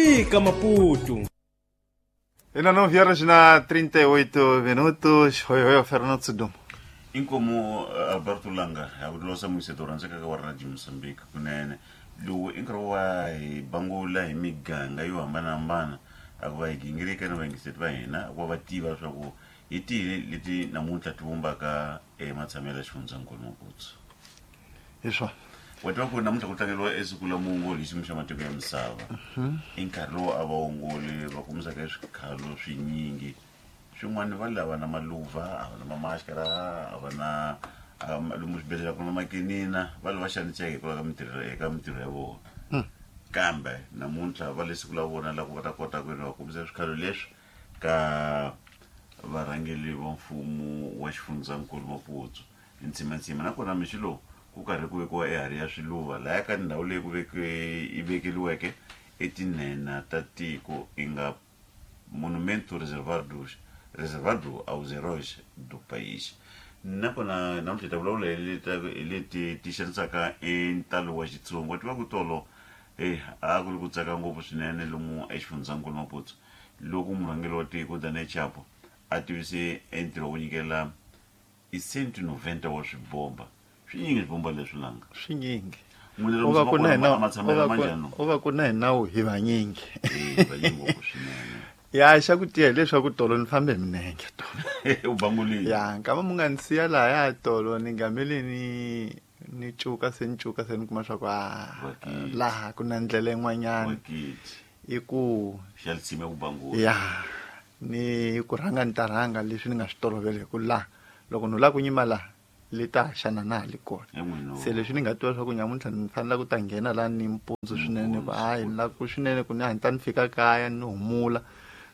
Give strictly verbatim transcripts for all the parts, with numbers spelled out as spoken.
Fika Maputo. Ainda nove horas na trinta e oito minutos. Oi, oi, Fernando Sudumo. Inkomo Alberto Langa, akulosa musetorantsa ka wa Radio Mozambique kunene. Lowu i nkarhi wa hi bangula hi miganga yo hambanahambana a ku va hi gingirika na vayingiseri va hina ku va va tiva leswaku hi tihi leti namuntlha ti vumbaka ematshamelo ya xifundzankulu Maputo. Hi swona. Wa tiva ku namuntlha ku tlangeriwa esiku la muongoli hi xiyimo xa matiko ya misava. I nkarhi lowu a vaongoli va kumisaka swikhalo swinyingi swin'wana va lava na maluva, a va na mamaskara, a va na lomu swibedhlele ku na makinina, va lava xaniseka hikwalaho ka mintirho eka mintirho ya vona. Kambe namuntlha va le siku la vona la ku va ta kota ku va kumisa swikhalo leswi ka varhangeri va mfumo wa xifundzankulu Maputo. Ntsimantsima nakona mixo lowu ku karhi ku vekiwa eharhi ya swiluva laya ka ndhawu leyi ku vekiwe yi vekeliweke etinhenha ta tiko i nga Monumento Reservado Reservado aos Heróis do País. Nakona namuntlha hi ta vulavula hi leti ti xanisaka entalo wa Xitsonga. Wa tiva ku tolo eh a ku ri ku tsaka ngopfu swinene lomu exifundzankulu Maputo loko murhangeri wa tiko Daniel Chapo a tivise entirho wo nyikela i cento noventa wa swibomba. Swinyingi swibomba leswi langa swinyingi u va ku na hina u va ku na hina hi vanyingi eh vanyingi ngopfu swinene. Ya xa ku tiya leswaku tolo ni fambe hi minenge tolo u bangulile ya nkama mu nga ni siya lahaya tolo ni ngamele ni ni cuka se ni cuka se ni kuma swa ku a laha ku na ndlela yin'wanyana i ku xa litsime ku bangula ya ni ku rhanga ni ta rhanga leswi ni nga swi tolovela hi ku laha loko no lava ku nyima laha le ta xana na ha le kona se leswi ni nga tiva swa ku nyamuntlha ni fanele ku ta nghena laha ni mpundzu swinene ku hayi ni lava ku swinene ku ni hatla ni fika kaya ni humula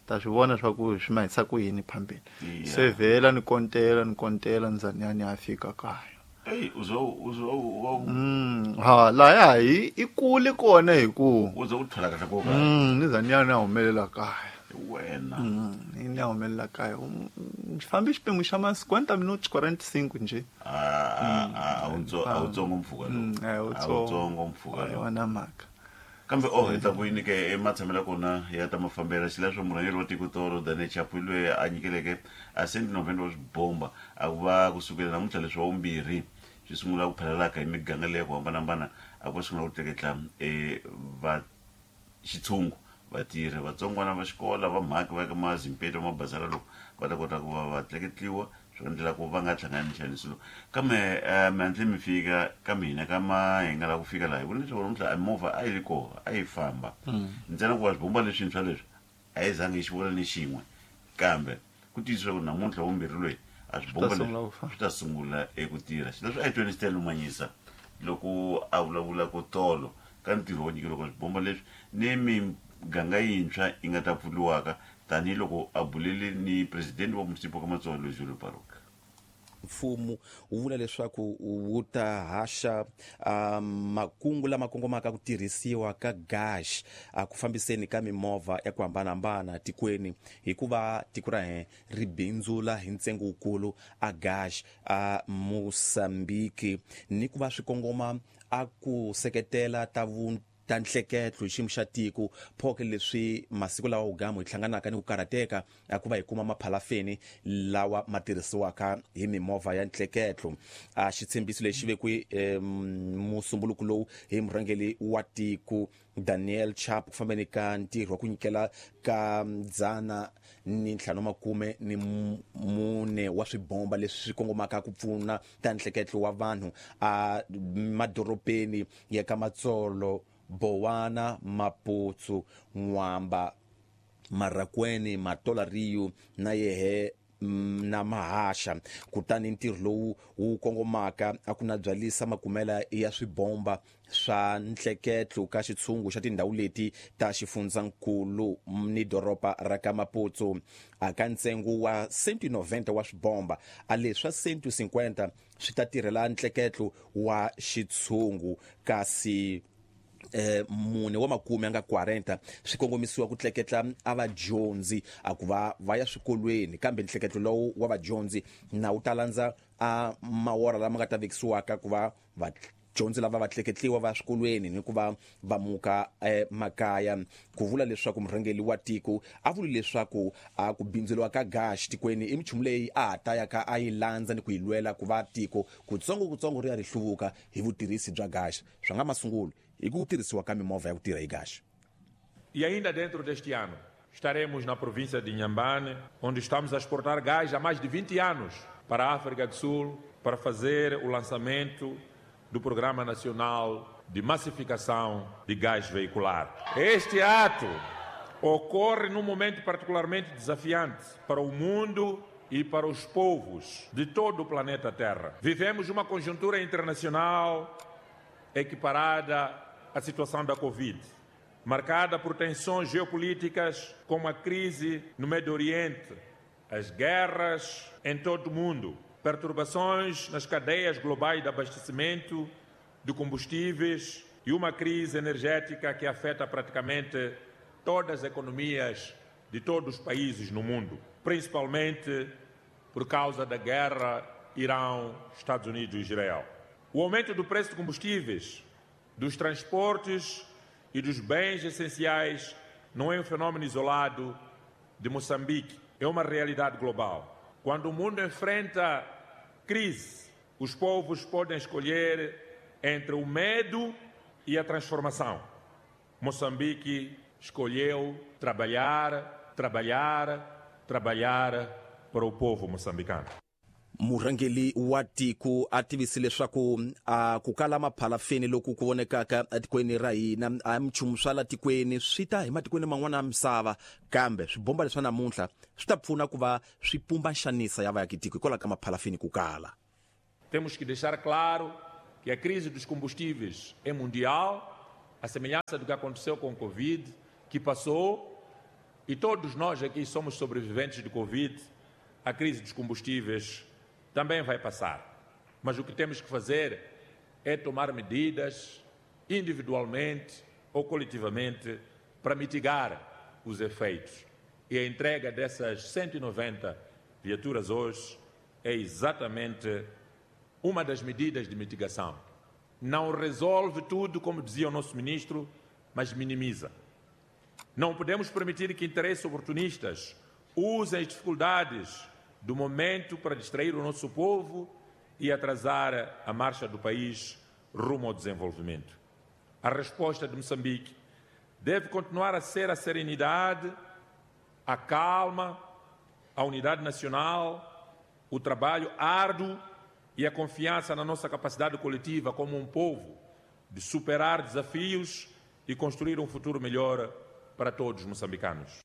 ta swi vona swa ku swi mahisa ku yini phambeni se vhela ni kontela ni kontela ni za ni ya ni ya fika kaya. Ey uzo uzo wa mm ha laya hi i kule kona hi ku uzo u tlhela kahle ko kaya mm ni za ni ya ni humelela kaya wena mm ni ya humelela kaya fambi xiphemu xa ma cinquenta minutos quarenta e cinco nje a a a a utsongo mpfhuka lo a utsongo mpfhuka lo yona mhaka kambe oh hi ta ku nyike ematshamelo ya kona ya ta mafambela xileswo murhangeri wa tiko tolo Daniel Chapo loyi a nyikeleke a cento noventa wa swibomba a ku va kusukela namuntlha leswi wa vumbirhi swi sungula ku phalalaka hi miganga leyi ku hambanahambana a ku va sungula ku tleketla va xitshungu vatirhi vatsongwana va xikola va mhaki va ka mazimpeto mabazara loko va ta kota ku va va tleketliwa swi endlela ku va nga hlangani ni nxaniso lowu. Kambe mi hatle mi fika ka mina ka ma hi nga lava ku fika laha hi vona leswaku namuntlha a movha a yi ri kona a yi famba ntsena ku va swibomba leswintshwa leswi a yi zangi hi xi vona ni xin'we kambe ku tiyisisa ku namuntlha vumbirhi loyi a swibomba leswi swi ta sungula eku tirha. Xileswi a hi tweni Stella Manyisa loko a vulavula ku tolo ka ntirho wo nyikeriwa ka swibomba leswi ni miganga yintshwa yi nga ta pfuriwaka tanihiloko a bulele ni presidente wa municipal ka Matsolo Julio Baruch. Mfumo wu vula leswaku wu ta haxa makungu lama kongomaka ku tirhisiwa ka gas a ku fambiseni ka mimovha ya ku hambanahambana tikweni hikuva tiko ra hina ri bindzula hi ntsengo wukulu a gas a Mozambique ni ku va swi kongoma a ku seketela ta vu ta nhleketlo hi xiyimo xa tiko phoke leswi masiku lawa ugamu hi hlanganaka ni ku karhateka a ku va hi kuma maphalafeni lawa ma tirhisiwaka hi mimovha ya nhleketlo. A xitshembiso lexi vekiwe musumbuluko lowu hi murhangeri wa tiko Daniel Chapo ku fambeni ka ntirho wa ku nyikela ka dzana ni ntlhanu makume ni mune wa swibomba leswi swi kongomaka ku pfuna ta nhleketlo wa vanhu a madorobeni ya ka Matsolo, Bowana, Maputo, Nwamba, Marracuene, Matola Rio na yehe na Mahasha. Kutani ntirho lowu wu kongomaka a ku na byalisa makumela ya swibomba swa nhleketlo ka xitshungu xa tindhawu leti ta xifundzankulu ni doroba ra ka Maputo a ka ntsengo wa cento noventa wa swibomba a leswa cento cinquenta swi ta tirhela nhleketlo wa xitshungu kasi eh mune wa makume nga quarenta swi kongomisiwa ku tleketla a vadyondzi a ku va va ya swikolweni kambe nhleketlo lowu wa vadyondzi na wu ta landza a mawora lama nga ta vekisiwaka ku va va vadyondzi lava va tleketliwa va swikolweni ni ku va va muka eh, makaya ku vula leswaku murhangeri wa tiko a vuli leswaku a ku bindzuriwa ka gas tikweni i minchumu leyi a ha ta ya ka a yi landza ni ku yi lwela ku va tiko kutsongo kutsongo ri ya ri hluvuka hi vutirhisi bya gas swa nga masungulo hi ku tirhisiwa ka mimovha ya ku tirha hi gas. E ainda dentro deste ano estaremos na província de Inhambane, onde estamos a exportar gás há mais de vinte anos para a África do Sul, para fazer o lançamento do Programa Nacional de Massificação de Gás Veicular. Este ato ocorre num momento particularmente desafiante para o mundo e para os povos de todo o planeta Terra. Vivemos uma conjuntura internacional equiparada à situação da Covid, marcada por tensões geopolíticas como a crise no Médio Oriente, as guerras em todo o mundo, perturbações nas cadeias globais de abastecimento de combustíveis e uma crise energética que afeta praticamente todas as economias de todos os países no mundo, principalmente por causa da guerra Irão, Estados Unidos e Israel. O aumento do preço de combustíveis, dos transportes e dos bens essenciais não é um fenômeno isolado de Moçambique, é uma realidade global. Quando o mundo enfrenta crise, os povos podem escolher entre o medo e a transformação. Moçambique escolheu trabalhar, trabalhar, trabalhar para o povo moçambicano. Murhangeri wa tiko a tivise leswaku a ku kala maphalafeni loku ku vonekaka etikweni ra hina a minchumu swa la tikweni swi ta hi matikweni man'wana ya misava kambe swibomba leswa namuntlha swi ta pfuna ku va swi pumba nxanisa ya vaakitiko hikwalaho ka maphalafeni ku kala. Temos que deixar claro que a crise dos combustíveis é mundial, a semelhança do que aconteceu com o Covid, que passou, e todos nós aqui somos sobreviventes do Covid, a crise dos combustíveis também vai passar. Mas o que temos que fazer é tomar medidas individualmente ou coletivamente para mitigar os efeitos. E a entrega dessas cento e noventa viaturas hoje é exatamente uma das medidas de mitigação. Não resolve tudo, como dizia o nosso ministro, mas minimiza. Não podemos permitir que interesses oportunistas usem as dificuldades do momento para distrair o nosso povo e atrasar a marcha do país rumo ao desenvolvimento. A resposta de Moçambique deve continuar a ser a serenidade, a calma, a unidade nacional, o trabalho árduo e a confiança na nossa capacidade coletiva como um povo de superar desafios e construir um futuro melhor para todos os moçambicanos.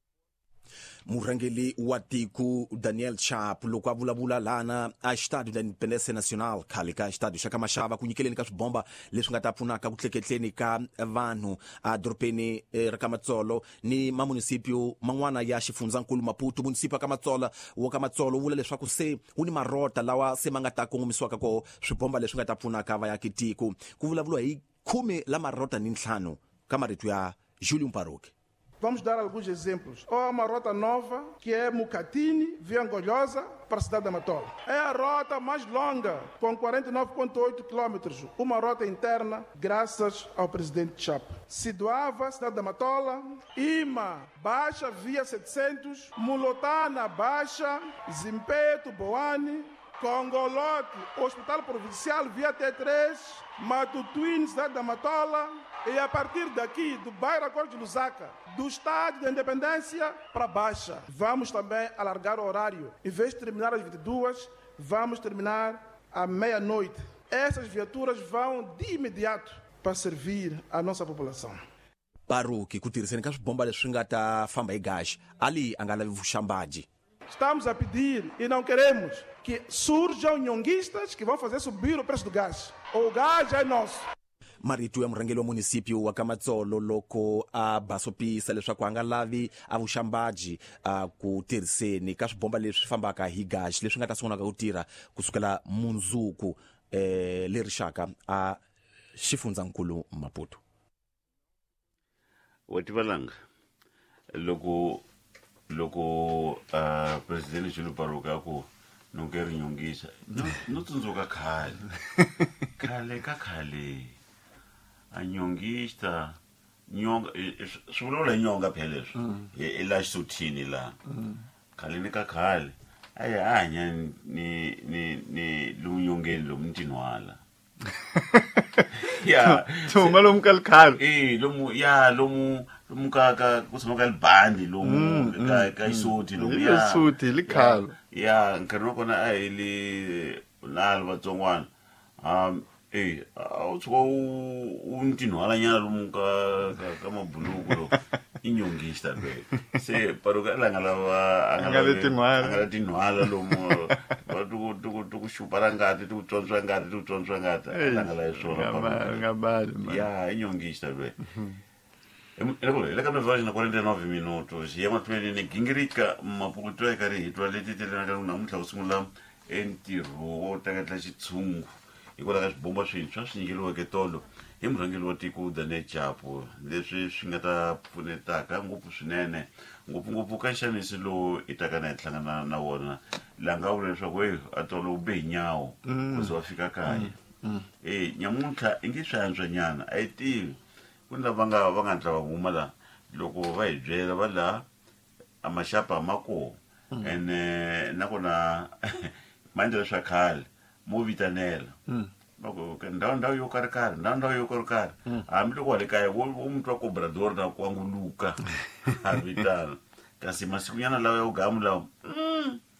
Murhangeri wa tiko Daniel Chapo loko a vulavula lana a Estádio da Independência Nacional khale ka Estádio xa ka Mashava ku nyikeleni ka swibomba leswi nga ta pfunaka ku tleketleni ka vanhu a dorobeni ra ka Matsolo ni mamunisipio man'wana ya xifundzankulu Maputo. Munisipio ka Matsolo wa ka Matsolo wu vula leswaku se wu ni marota lawa se ma nga ta kongomisiwaka koho swibomba leswi nga ta pfunaka vaakitiko. Ku vulavuriwa hi khume la marota ni ntlhanu ka marito ya Julius Mparuki. Vamos dar alguns exemplos. Há uma rota nova, que é Mucatini, via Angolhosa, para a cidade da Matola. É a rota mais longa, com quarenta e nove vírgula oito quilômetros, uma rota interna, graças ao presidente Chapo. Sidoava, cidade da Matola, Ima, Baixa, via setecentos, Mulotana, Baixa, Zimpeto, Boane, Congolote, Hospital Provincial, via T três, Matutuine, cidade da Matola, e a partir daqui, do bairro Acordo de Lusaka, do Estádio da Independência para Baixa. Vamos também alargar o horário. Em vez de terminar às vinte e duas, vamos terminar à meia-noite. Essas viaturas vão de imediato para servir a nossa população. Baruki ku tirhiseni ka swibomba leswi nga ta famba hi gas, ali a nga lavi vuxambaji. Estamos a pedir e não queremos que surjam nhonguistas que vão fazer subir o preço do gás. O gás é nosso. Marito ya murhangeri wa munisipio wa ka Matsolo loko a basopisa leswaku a nga lavi a vuxambaji a ku tirhiseni ka swibomba leswi fambaka hi gas leswi nga ta sungulaka ku tirha kusukela mundzuku eh le rixaka a xifundzankulu Maputo. Wa tivalanga loko loko uh, presidente Julius Mparuki a ku nonke ri nyongisa no no tsundzuka khale. Khale ka khale a nyongista nyonga swi vulavula hi nyonga phela leswi i la xisuthini laha khale ni ka khale a hi hanya ni ni ni lomu nyongeni lomu ni tinhwala ya ti huma lomu ka likhale e lomu ya lomu lomu ka ka ku tshama ka libandi lomu ka ka xisuti lomu ya xisuti likhale ya nkarhi wa kona a hi le nalo vatsongwana um e a wu tshuka u ni tinhwalanyana lomu ka ka ka mabuluku lo i nyongista loyi se paruka la nga lava a nga le tinhwala a nga le tinhwala lomu va ti ku ti ku ti ku xupa ra ngati ti ku tswontswa ngati ti ku tswontswa ngati a la nga lavi swona nga bali ya i nyongista loyi hi le ka nove na quarenta e nove minutos hi ya mahlweni ni gingirika mapukuto eka ri hi twa leti telenaka namuntlha ku sungula entirho wo teketla xitshungu hikwalaho ka swibomba swintshwa swi nyikeriweke tolo hi murhangeri wa tiko Daniel Chapo leswi swi nga ta pfunetaka ngopfu swinene ngopfungopfu ka nxaniso lowu i taka na hi hlangana na wona laha nga vula leswaku e a tolo u be hi nyawo ku ze wa fika kaya e nyamuntlha i nge swi antswanyana a yi tivi ku ni lava nga va nga ndla va huma laha loko va hi byela va laha a maxapa ma kona ene nakona ma endla leswa khale mo vitanela va ku ndhawu ndhawu yo karhi karhi ndhawu ndhawu yo karhi karhi hambiloko wa le kaya wo wo mutwa cobrador na kwanguluka a vitana kasi masikunyana lawa ya ugamu lawa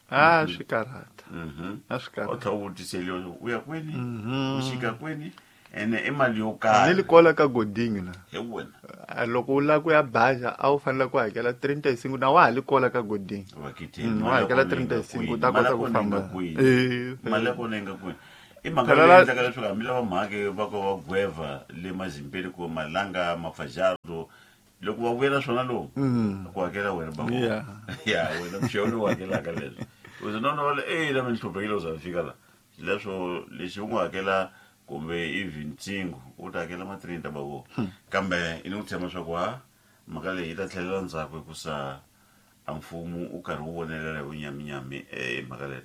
a swi karhata a swi u karhata tlha u vutiseliwa u ya kwini u xika kwini ene i mali yo karhi ni likola ka godinho na hi wena A loko u lava ku ya baja a wu fanele ku hakela trinta e cinco na wa ha likola ka godinho vakitheni Mm, wa hakela trinta e cinco u ta kota ku famba Eh, mali ya kona yi nga kwini i mhaka Phela leyi la- endlaka leswaku hambi lava mhake va ka va gweva le mazimpeli ku malanga mafajardo loko va vuyela swona lowu ku hakela wena bako Yeah. ya wena mxewu lowu hakelaka leswi uze nona va le e la mi ni hluphekile u za mi fika la leswo lexi u nga hakela kumbe even ntsingo u ta hakela ma trinta bako kambe i ni ku tshemba swa ku ha mhaka leyi yi ta tlhelela ndzhaku hikusa a mfumo u karhi wu vonelela hi vunyaminyami eh, mhaka leyi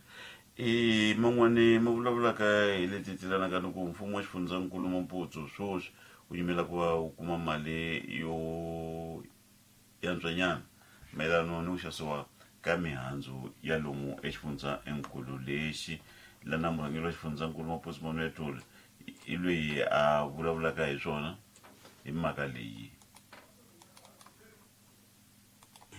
i man'wani ma vulavulaka hi leti tilanaka ni ku mfumo wa xifundzankulu Maputo swoswi wu yimela ku va wu kuma mali yo yantswanyana mayelano ni ku xavisiwa ka mihandzu ya lomu exifundzankulu lexi lana murhangeri wa xifundzankulu Maputo Manuel Tole i loyi a vulavulaka hi swona hi mhaka leyi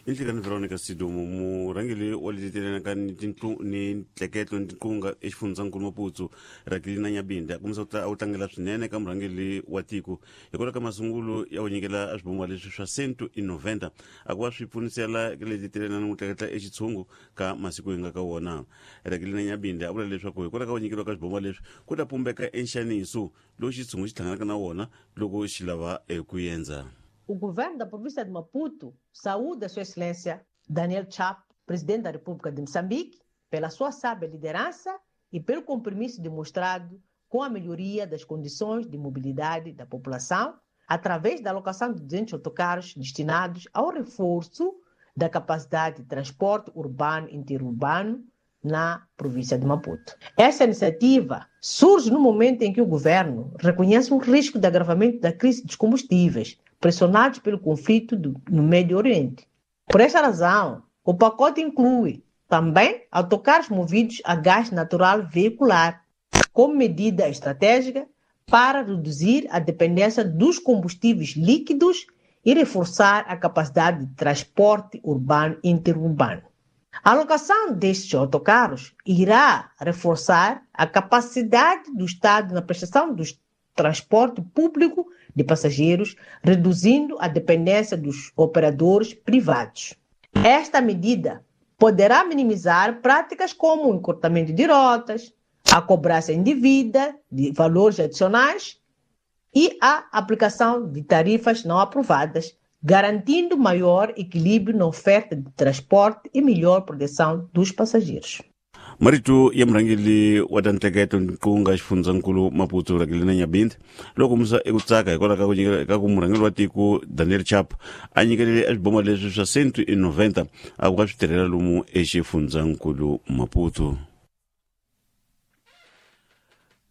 i nhlekani Veronica Sidumo murhangeri wa leti telanaka ni tintlu ni ntleketlo ni tinqunga exifundzankulu Maputo Rakelina Nyabinde a kombisa ku tla- a wu tlangela swinene ka murhangeri wa tiko hikwalaho ka masungulo ya ku nyikela a swibomba leswi swa cento e noventa a ku va swi pfunisela ka leti telana ni ku tleketla exitshungu ka masiku hi nga ka wona Rakelina Nyabinde a vula leswaku hikwalaho ka ku nyikeriwa ka swibomba leswi ku ta pumbeka enxaniso lowu xitshungu xi hlanganaka na wona loko xi lava eku endza. O governo da província de Maputo saúda Sua Excelência Daniel Chapo, presidente da República de Moçambique, pela sua sábia liderança e pelo compromisso demonstrado com a melhoria das condições de mobilidade da população, através da alocação de duzentos autocarros destinados ao reforço da capacidade de transporte urbano e interurbano na província de Maputo. Essa iniciativa surge no momento em que o governo reconhece um risco de agravamento da crise dos combustíveis, pressionados pelo conflito do, no Médio Oriente. Por esta razão, o pacote inclui também autocarros movidos a gás natural veicular, como medida estratégica para reduzir a dependência dos combustíveis líquidos e reforçar a capacidade de transporte urbano e interurbano. A alocação destes autocarros irá reforçar a capacidade do Estado na prestação do transporte público de passageiros, reduzindo a dependência dos operadores privados. Esta medida poderá minimizar práticas como o encurtamento de rotas, a cobrança indevida de valores adicionais e a aplicação de tarifas não aprovadas, garantindo maior equilíbrio na oferta de transporte e melhor proteção dos passageiros. Marito ya murhangeri wa ta nteketo nqunga xifundzankulu Maputo Rakelina Nyabinde loko kombisa eku tsaka hikwalaho ka ku nyikela ka ku murhangeri wa tiko Daniel Chapo a nyikelele a swiboma leswi swa cento e noventa a ku ka swi tirhela lomu exifundzankulu Maputo.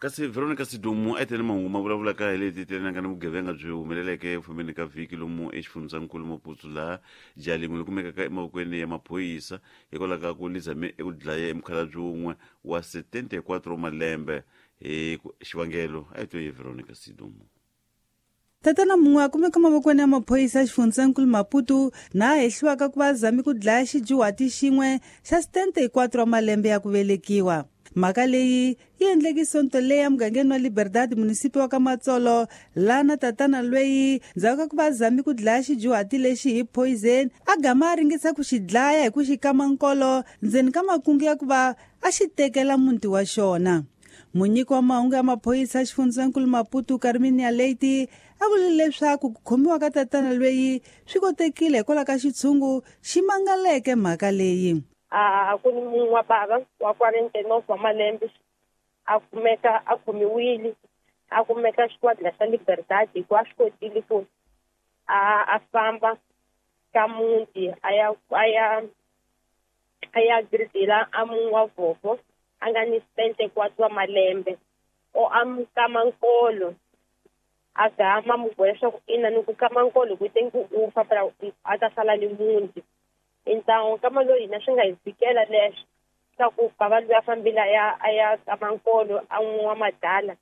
Kasi Veronica Sidumo a tele mahungu ma vulavulaka hi leti telenaka ni vugevenga byi humeleleke eku fambeni ka vhiki lomu exifundzhankulu Maputo laha jaha lin'we ri kumekaka emavokweni ya maphorisa hikwalaho ka ku lizame eku dlaya emukhalabye wun'we wa setenta e quatro malembe hi xivangelo. A hi twe hi Veronica Sidumo. Tatana mun'we a kumeka mavokweni ya maphorisa ya xifundzankulu Maputo na a hehliwaka ku va zami ku dlaya xidyuhati xin'we xa setenta e quatro wa malembe ya ku velekiwa. Mhaka leyi yi endleke sonto leyi emugangeni wa Liberdade, munisipi wa ka Matsolo, laha na tatana lweyi ndzhaku ka ku va zami ku dlaya xidyuhati lexi hi poison a gama a ringesa ku xi dlaya hi ku xi kama nkolo ndzeni ka makungu ya ku va a xi tekela muti wa xona. Munyiki wa mahungu ya maphorisa ya xifundzankulu Maputo, Carminia Leite, a vule leswaku ku khomiwa ka tatana lweyi swi kotekile hikwalaho ka xitshungu xi mangaleke mhaka leyi. A ku ni mun'we wa bava wa quarenta e nove wa malembe a kumeka a khomiwile, a kumeka xikwadi xa Liberdade hikuva a swi kotile ku a a famba ka muti a ya a ya a ya gridela a mun'we wa vhovho a nga ni setenta e quatro wa malembe o a mu kama nkolo, a gama mu boha leswaku ina ni ku kama nkolo ku te ku u fa phela a ta sala ni muti. Então kama loyi hina swi nga hi fikela leswo swa ku bava loyi a fambile a ya a ya kama nkolo a n'wi wa madala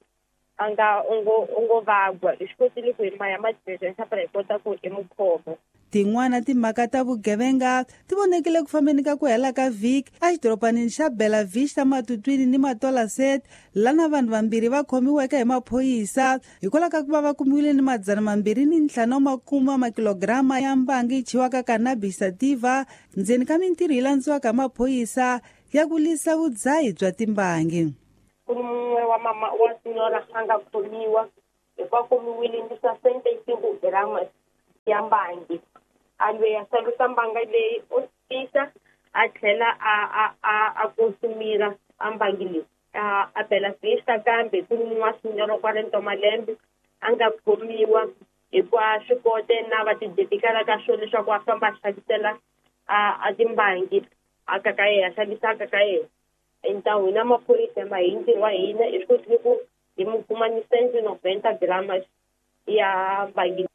a nga u ngo u ngo vagwa, hi swi kotile ku hi maya madiresa phela hi kota ku hi mu khoma. Tin'wana timhaka ta vugevenga ti vonekile ku fambeni ka ku hela ka vhiki exidorobanini xa Bela Vista, Matutwini ni Matola Set, lana vanhu vambirhi va khomiweke hi maphorisa hikwalaho ka ku va va kumiwile ni madzana mambirhi ni ntlhanu wa makume wa makilograma ya mbangi yi chiwaka cannabis sativa ndzeni ka mintirho yi landziwaka hi maphorisa ya ku lwisa vudzahi bya timbangi. Ku ni mun'we wa mama wa senhora a nga khomiwa hikuva khomiwile ni sessenta e cinco grama ya mbangi, a lweyi a xavisa mbanga leyi o tisa a tlhela a a a a consumira a mbangi leyi a a Bela Vista. Kambe ku ni mun'we wa senhora quarenta wa malembe a nga khomiwa hikuva swi kote na va tidedikala ka swona leswaku a famba a xavisela a a timbangi a ka ka yena a xavisa a ka ka yena. Então hina maphorisa ma hi ntirho wa hina hi swi kotile ku hi mu kuma ni cento e noventa gramas ya mbangi.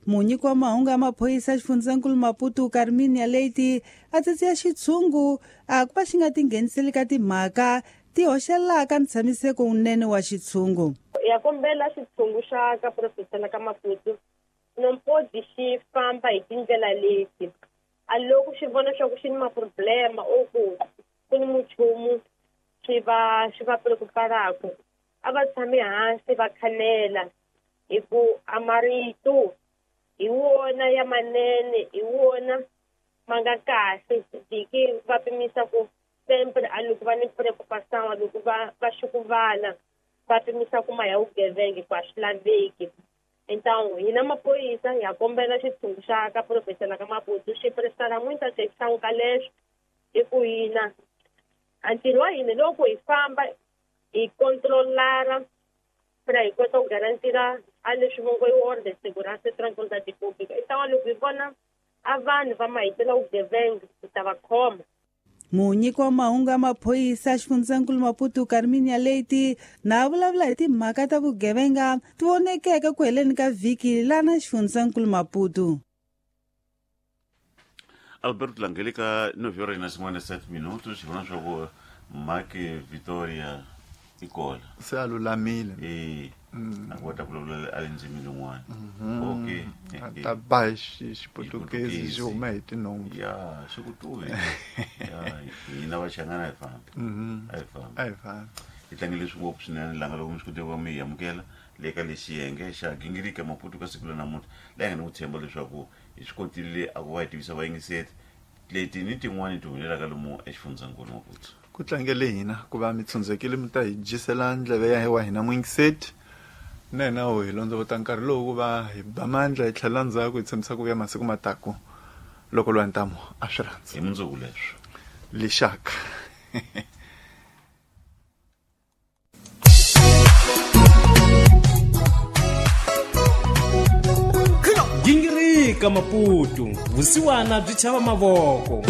Munyiki wa mahungu ya maphorisa xifundzankulu Maputo, Carminia Leite, a tsetsiya xitshungu a ku va xi nga tingheniseli ka timhaka ti hoxelaka ntshamiseko wunene wa xitshungu. Ya kombela xitshungu xa ka professional ka Maputo não pode xi famba hi tindlela leti a loko xi vona swa ku xi ni maproblema or ku ku ni muchumu swi va swi va preocuparaka, a va tshami hansi va khanela hi ku a marito hi wona ya manene, hi wona ma nga kahle diki va pimisa ku sempre a loko va ni preocupação, a loko va va xukuvala va pimisa ku ma ya vugevenga ku a swi laveki. Então hina maphorisa ha kombela xitshungu xa ka professional ka Maputo xi prestar muita atenção ka leswo hi ku hina a ntirho wa hina loko hi famba hi controlara para hi kota ku garantira a leswi vo ngo i ordem, segurança e tranquilidade pública. Então loko hi vona a vanhu va mahitela vugevenga hi ta va khoma. Munyiki wa mahungu ya maphorisa xifundzankulu Maputo, Carminia Leite, na vulavula hi timhaka ta vugevenga ti vonekeke ku heleni ka vhiki lana xifundzankulu Maputo. Alberto Langeli ka nove horas na cinquenta e sete minutos, hi vona swa ku Maki Victoria i kona. Se a lulamile. E a kota ku vulavula a le ndzimi lin'wana. Okay. A ta ba hi xiputukezi xi huma hi tinhompfu. Ya swi ku tuvi ya hina vachangana hi fambi a hi fambi. A hi fambi. Hi tlangele swi ngopfu swinene langa loko mi swi kote ku va mi hi amukela le ka lexi yenge xa gingirika Maputo ka siku la namuntlha leyi nga ni ku tshemba leswaku hi swi kotile a ku va hi tivisa vayingiseri leti ni tin'wani ti humelelaka lomu exifundzankulu Maputo. Ku tlangele hina ku va mi tshundzekile mi ta hi dyisela ndleve ya wa hina muyingiseti na hina ho hi londzovota nkarhi lowu ku va hi ba mandla hi tlhela ndzhaku hi tshembisa ku vuya masiku mataku loko lwa ntamu a swi rhandza. Hi mundzuku leswo. Lixaka. Gingirika Maputo, vusiwana byi chava mavoko.